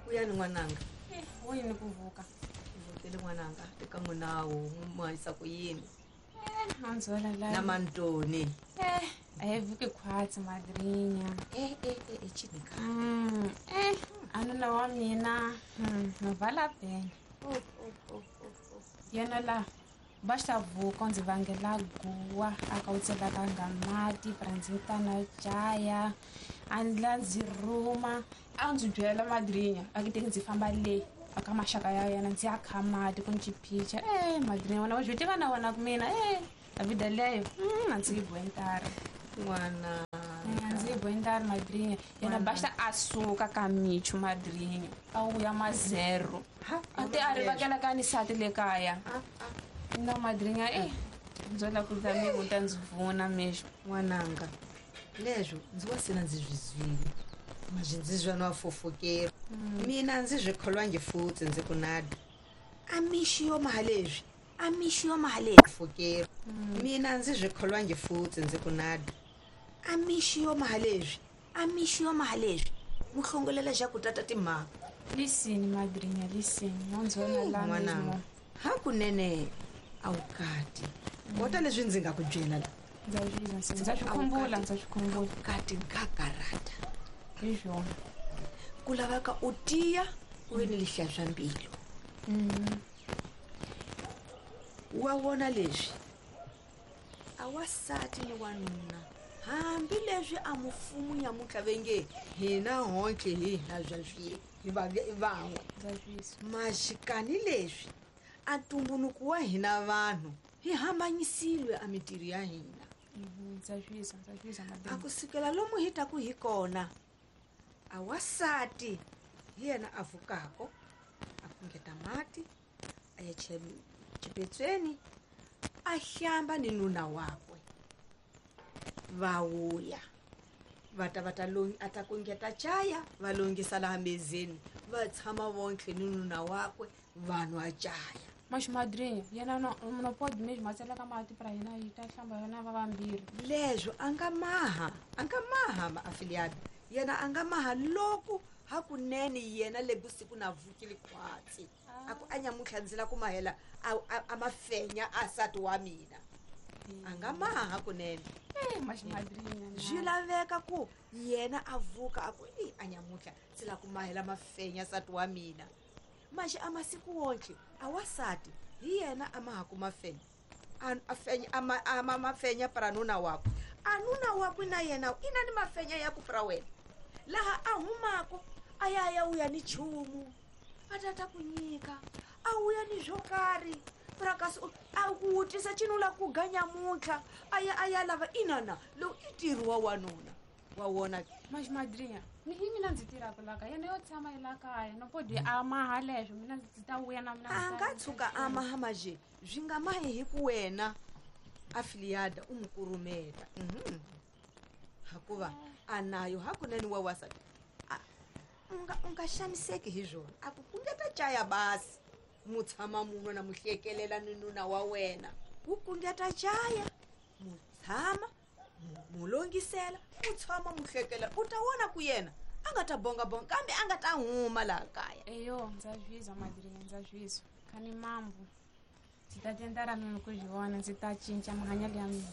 Vuyani n'wananga. Wini ku vuka? Vukele n'wananga eka n'winawu muhanyisa ku yini? Anzola la. Na mantoni. A hi vuki khwatsi madrinya. Chini ka. Anuna wa mina, no vala pena. Yena la va xa vuka ndzi vangela guwa a ka u tselaka nga mati pra ndzi ta na caya a ndla ndzi rhuma a ndzi byela madrinya a ki teki ndzi famba le aka maxaka ya yena ndzi ya kha mati ku ndzi picha. Madrinya wena wa swi tiva na wena ku mina a vida leyo a ndzi yi bohentara n'wana. A ndzi yi bohentara madrinya yena basta a suka ka michu madrinya a wuya ma zero a te a rivakela ka ni sati le kaya. No madrinya ndzo la ku ta mi ku ta ndzi vuna mexo. N'wananga leswo ndzi wa sena ndzi swi zwile mazwi ndzi zwa no fofokera. Mina ndzi swi kholwangi futhi ndzi ku nada. A mixi yo maha leswi, a mixi yo maha leswi fokera. Mina ndzi swi kholwangi futhi ndzi ku nada. A mixi yo maha leswi, a mixi yo maha leswi. Muhlongolela xa ku tata timhaka. Lisini madrinya lisini no ndzona la N'wananga. Hakunene a wu kati. Kota leswi ndzi nga ku byela la. Ndza swi ndza swi khumbula, ndza swi khumbula. Kati nkakarata. Hi swona. Ku laveka u tiya u ve ni lihla swa mbilu. Wa vona leswi a wasati ni wanuna hambi leswi a mufumu nyamuntlha ve nge hina hontle hi hina bya swi hi va van'we. Maxikani leswi a ntumbuluko wa hina vanhu hi hambanyisile a mitirho ya hina. A kusukela lomu hi taku hi kona a wasati hi yena a vukako a kungeta mati a ya xipetsweni a hlamba ni nuna wakwe. Va vuya va ta va ta a ta kungeta chaya va longisa laha mezeni va tshama vonke ni nuna wakwe va nwa chaya. Mas madrinha yena no pode mesmo a tseleka mati pra yena yi ta hlamba yena va vambirhi. Leswo a nga maha, a nga maha maafiliado yena a nga maha loko hakunene yena le vusiku na vukile khwatsi. A ku a nyamuntlha ndzi la ku mahela a mafenya a sati wa mina. A nga maha hakunene. Mas madrinha na. Swi laveka ku yena a vuka a ku i a nyamuntlha ndzi la ku mahela mafenya sati wa mina. Maxi a masiku wonke a wasati hi yena a maha ku mafenya. A fenya, a ma, a ma mafenya pra nuna wakwe. A nuna wakwe na yena i na ni mafenya ya ku pra wena. Laha a humako a ya ya uya ni chumu. A tata ku nyika, a uya ni swo karhi. Pra kasi a ku wutisa chinula la ku ga nyamuntlha, a ya a ya lava inana lowu i ntirho wa wanuna. Wa wona. Mas madrinha, ni hi mina ndzi tirhaka la kaya, yena yo tshama yi la kaya, no pode a maha leswo, mina ndzi ta vuya na mina. A nga tshuka a maha maje, swi nga mahi hi ku wena afiliada u n'wi kurumeta. Hakuva a nayo hakunene wa wasati. A, u nga xaniseki hi swona. A ku kungeta chaya basi. Mu tshama munhu na mu hlekelela ni nuna wa wena. Ku kungeta chaya, mu tshama, mu longisela, mu tshama mu hlekela. U ta vona ku yena a nga ta bonga bonga kambe a nga ta huma laha kaya. Eyo, ndza zwizwa madrinha, ndza zwizwa. Khani mambo. Ndzi ta tenda ra mina ku zwi vona, ndzi ta cinca mahanyelo ya mina.